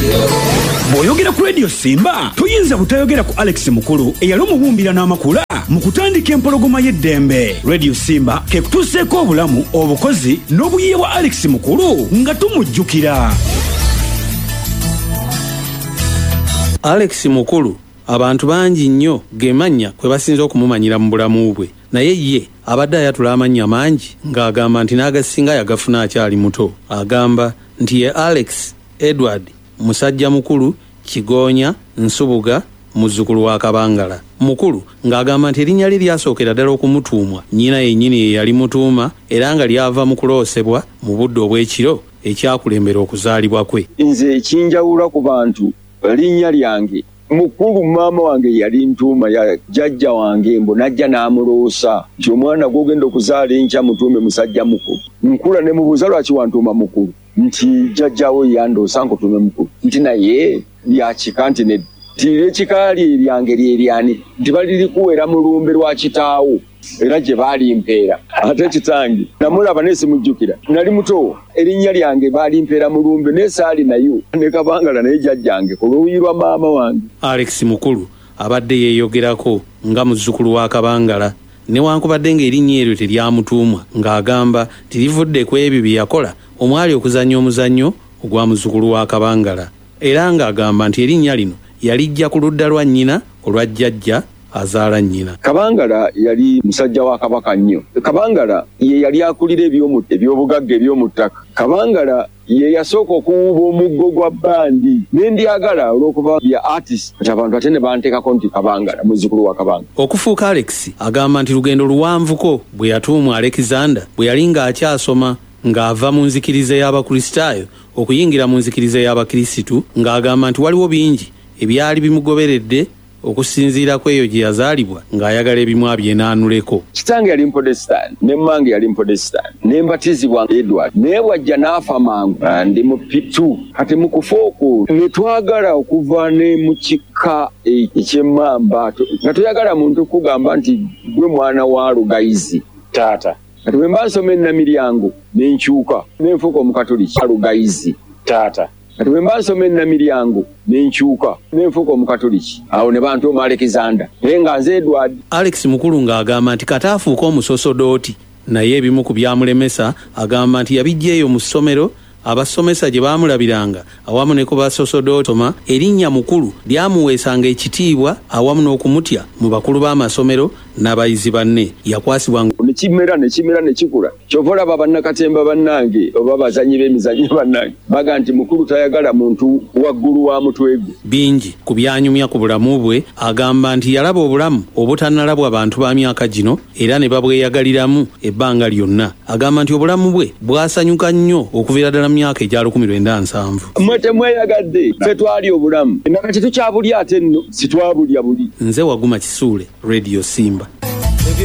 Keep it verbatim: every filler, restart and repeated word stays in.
Bw'oyogera ku Radio Simba toyinza butayogera ku Alex Mukulu eyali omubumbira n'amakula mu kutandika Empologoma y'Eddembe. Radio Simba ke kutuuseeko obulamu, obukozi n'obuyiiya bwa Alex Mukulu nga tumujjukira. Alex Mukulu abantu bangi nnyo ge mannya kwe basinze okumumanyira mu bulamu bwe, naye ye abadde ayatula amannya mangi ng'agamba nti n'agasinga yagafuna akyali muto. Agamba nti ye Alex Edward musajja mukulu Kigonya Nsubuga, muzzukulu wa Kabangala. Mukulu ng'agamba nti erinnya lye lyasookera ddala okumutuumwa nnyina yennyini ye yali mutuuma, era nga lyava mu kuloosebwa mu budde obw'ekiro ekyakulembera okuzaalibwa kwe. Nze ekinjawula ku bantu linnya lyange Mukulu, maama wange yali ntuuma ya jjajja wange mbu najja n'amuloosa nti omwana gw'ogenda okuzaala enkya mutuume musajja mukulu. Nkula ne mubuuza lwaki wantuuma Mukulu, nti jjajjaawo yandoosa nkutuume Mukulu, nti naye lyakika, nti nedda, nti ekika lye lyange lye lyani, nti balirikuwera mu lumbe lwa kitaawo, era gye baalimpeera. Ate kitange namulaba naye simujjukira, nali muto, erinnya lyange baalimpeera mu lumbe naye saali nayo ne Kabangala naye jjajjange ku luuyi lwa maama wange. Alex Mukulu abadde yeeyogerako nga muzzukulu wa Kabangala, newankubadde ng'erinnya eryo teryamutuumwa, ng'agamba nti livudde ku ebyo bye yakola omwali okuzannya omuzannyo ogwa muzzukulu wa Kabangala, era ng'agamba nti erinnya lino yalijja ku ludda lwa nnyina olwa jjajja azaala nnyina. Kabangala yali musajja wa Kabaka nnyo. Kabangala ye yali akulira ebyobugagga eby'omu ttaka. Kabangala ye yasooka okuwuuba omuggo gwa bbandi, ne ndyagala olw'okuba bya artist, kati abantu ate ne banteekako nti Kabangala, muzzukulu wa Kabanga. Okufuuka Alex agamba nti lugendo luwanvuko bwe yatuumwa Alexander bwe yali ng'akyasoma, ng'ava mu nzikiriza y'Abakristaayo okuyingira mu nzikiriza y'Abakirisitu, ng'agamba nti waliwo bingi ebyali bimugoberedde okusinziira ku eyo gye yazaalibwa ng'ayagala ebimu abyenaanuleko. Kitange yali Mupotesitaani ne mmange yali Mupotesitaani, ne mbatizibwa Edward, naye bw'ajja n'afa mangu ndi mu P two. Kati mu kufa okwo ne twagala okuva ne mu kika eky'emmamba, nga toyagala muntu kugamba nti gwe mwana wa Lugayizi taata. Kati bwe mba nsoma Ennamiryango ne nkyuka ne nfuuka Omukatoliki Lugayizi taata. Kati bwe mba nsoma Ennamiryango ne nkyuka ne nfuuka Omukatoliki, awo ne bantuuma Alexander, naye nga nze Edward. Alex Mukulu ng'agamba nti kata afuuke omusosodooti, naye ebimu ku byamulemesa agamba nti yabiggya eyo mu ssomero abasomesa gye baamulabiranga awamu ne ku basosodootoma. Erinnya Mukulu lyamuweesanga ekitiibwa awamu n'okumutya mu bakulu b'amasomero n'abayizi banne. Yakwasibwa ne kimera ne kimera ne kikula. Kyova olaba bannakatemba bannange oba abazannyi b'emizannyo bannange baga nti Mukulu tayagala muntu waggulu wa mutwe gwe. Bingi ku byanyumya ku bulamu bwe agamba nti yalaba obulamu obutannalabwa bantu ba myaka gino era ne babweyagaliramu ebbanga lyonna. Agamba nti obulamu bwe bwasanyuka nnyo okuviira ddala mu myaka egya lukumi lwenda nsanvu. Mmwe temweyagadde, ffe twali obulamu nakati tukyabulya, ate nno sitwabulya buli. Nze Waguma Kisuule, Radio Simba.